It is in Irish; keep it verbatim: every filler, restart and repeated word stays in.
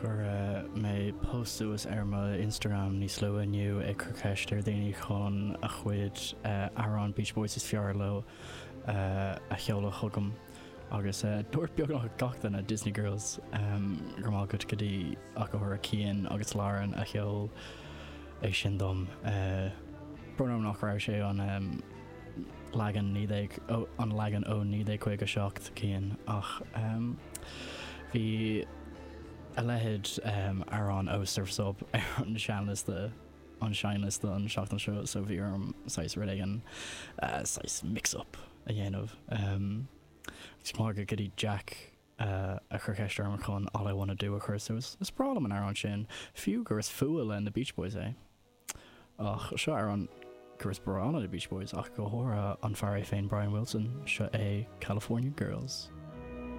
Chuir mé post suas ar mo Instagram níos luaithe inniu ag cur ceist ar daoine chun a chuid amhrán Beach Boys is fearr leo a sheoladh chugam agus dúirt beagnach gach duine Disney Girls go raibh maith agat go dtí ach go háirithe Cian agus Lauren a sheol é sin dom. Brón orm nach raibh sé an leagan naoi déag an leagan ó naoi déag caoga seacht Cian ach bhí a leithéid amhrán ó Surf's Up ar an seanliosta an seinnliosta an seachtain seo so bhí orm saghas rud éigin saghas mix up a dhéanamh. Is maith go dtí Jack a chuir ceist orm chun All I Wanna Do a chur suas. Is breá liom an amhrán sin, fiú gur is fuath le na Beach Boys é. Ach seo amhrán gur is breá le na Beach Boys ach go háirithe an fear é féin Brian Wilson, seo é California Girls.